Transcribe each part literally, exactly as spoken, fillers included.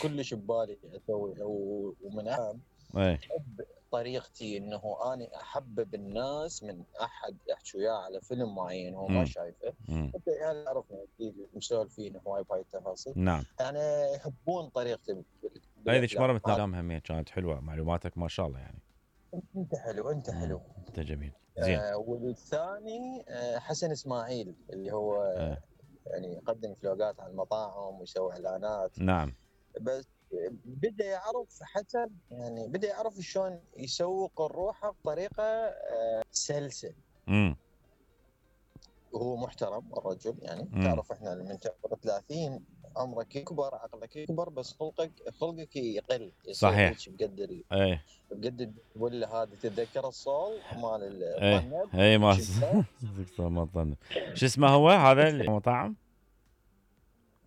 كلش ببالي اسوي، ومن اهم ايه احب طريقتي انه اني احبب الناس من احد احكي وياه على فيلم معين هو ما مم. شايفه. مم. انت يعني عرفنا اكيد مسولفين هواي بهاي التفاصيل، نعم. يعني يحبون طريقتي بال- هاي ذيك بالافلام. مره مثل الافلام همية كانت حلوه، معلوماتك ما شاء الله يعني. انت حلو، انت مم. حلو. انت جميل زين. آه والثاني آه حسن اسماعيل اللي هو آه. يعني يقدم فلوقات على المطاعم ويسوي اعلانات. نعم. بس بدا يعرف حسن، يعني بدا يعرف شلون يسوق الروحه بطريقه آه سلسه. امم وهو محترم الرجل، يعني امم تعرف احنا من تعمر ثلاثين عمرك يكبر، عقلك يكبر، بس خلقك خلقك يقل، يصير صحيح. هيك بقد ال... ايه بقد ولا هذا تتذكر الصول مال ايه الطنب ايه ما شفته؟ ما ظن. شو اسمه هو هذا المطعم؟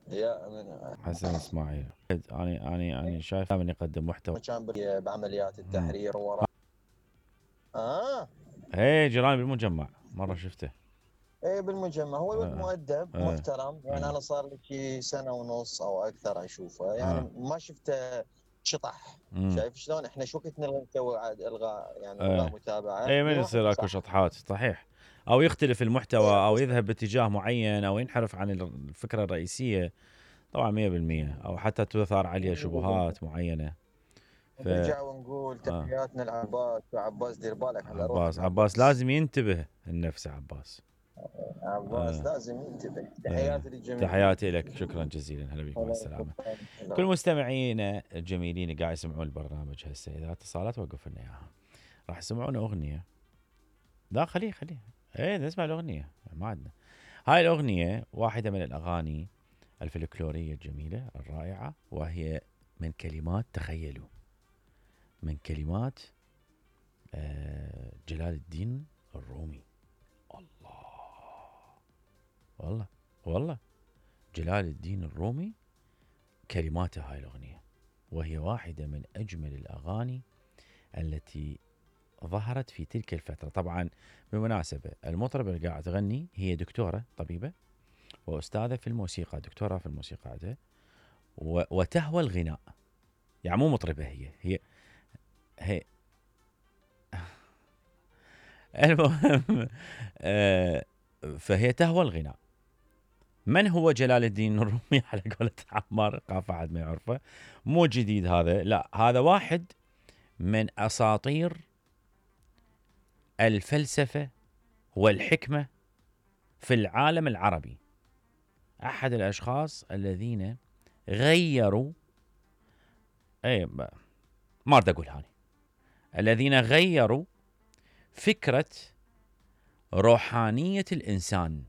يا من حسن اسماعيل. اني اني اني شايف من يقدم محتوى. كان ب- بعمليات امم التحرير ورا. اه ايه جيراني بالمجمع مره شفته. ايه بالمجمع. هو ولد اه مؤدب اه محترم، يعني اه انا صار لي شي سنه ونص او اكثر اشوفه، يعني اه ما شفته شطح. امم شايف شلون احنا شو كنت نبغى نسوي عاد الغاء، يعني الغاء ايه متابعه ايه من نروح يصير اكو صح. شطحات صحيح، او يختلف المحتوى ايه او بس يذهب باتجاه معين او ينحرف عن الفكره الرئيسيه. طبعا مية بالمية او حتى تثار عليه شبهات معينه. ف نرجع ونقول آه. تحياتنا لعباس. وعباس دير بالك على عباس روحك عباس عباس. لازم ينتبه النفس عباس. عباس آه. لازم ينتبه. آه. تحياتي للجميع. تحياتي لك، شكرا جزيلا، هلا بك، مع هلا السلامة. هلا. كل مستمعينا الجميلين قاعد يسمعون البرنامج هسه، إذا اتصالات وقف لنا إياها. راح يسمعون أغنية. لا خليه خليه ايه نسمع الأغنية، ما عندنا. هاي الأغنية واحدة من الأغاني الفلكلورية الجميلة الرائعة، وهي من كلمات، تخيلوا، من كلمات آه جلال الدين الرومي. الله، والله والله جلال الدين الرومي كلماته هاي الأغنية، وهي واحدة من أجمل الأغاني التي ظهرت في تلك الفترة. طبعا بالمناسبة المطربة اللي قاعدة تغني هي دكتورة طبيبة وأستاذة في الموسيقى، دكتورة في الموسيقى عندها، وتهوى الغناء، يعني مو مطربة، هي هي هي المهم آه فهي تهوى الغناء. من هو جلال الدين الرومي على قولة عمار قاف أحد ما يعرفه، مو جديد هذا، لا هذا واحد من أساطير الفلسفة والحكمة في العالم العربي. أحد الأشخاص الذين غيروا، أي ما أريد أقول هاني، الذين غيروا فكرة روحانية الإنسان.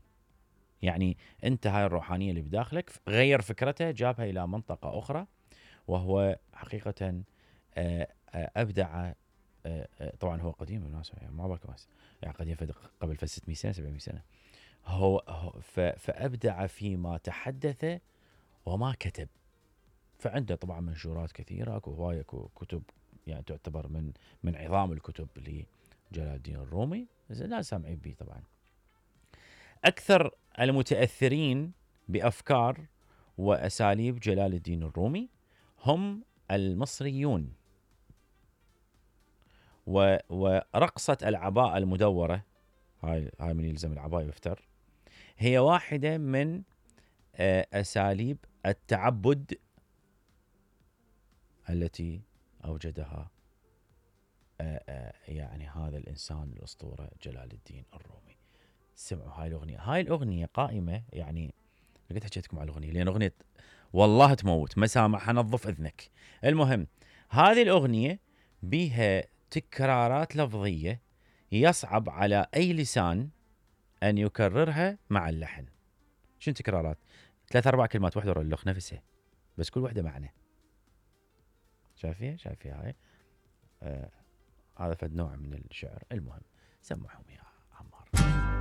يعني أنت هاي الروحانية اللي بداخلك غير فكرته، جابها إلى منطقة أخرى، وهو حقيقة أبدع. طبعا هو قديم بالمناسبة، يعني ما بالك بس، يعني قديم قبل في ستمية سنة سبعمية سنة. هو فأبدع فيما تحدث وما كتب. فعنده طبعا منشورات كثيرة، اكو هواية كتب، يعني تعتبر من من عظام الكتب لجلال الدين الرومي، لا سامعين به. طبعا أكثر المتأثرين بأفكار وأساليب جلال الدين الرومي هم المصريون. ورقصة العباءة المدورة، هاي هاي من يلزم العباءة يفتر، هي واحدة من أساليب التعبد التي أوجدها يعني هذا الإنسان الأسطورة جلال الدين الرومي. سمعوا هاي الأغنية. هاي الأغنية قائمة، يعني قلت حكيتكم على الأغنية لأن أغنية والله تموت، مسامح نظف إذنك. المهم هذه الأغنية بها تكرارات لفظية يصعب على أي لسان أن يكررها مع اللحن. شنو تكرارات؟ ثلاث أربع كلمات واحدة اللخ نفسها، بس كل واحدة معنى. شايفيها شايفيها هاي آه هذا فد نوع من الشعر. المهم سمعهم يا عمار.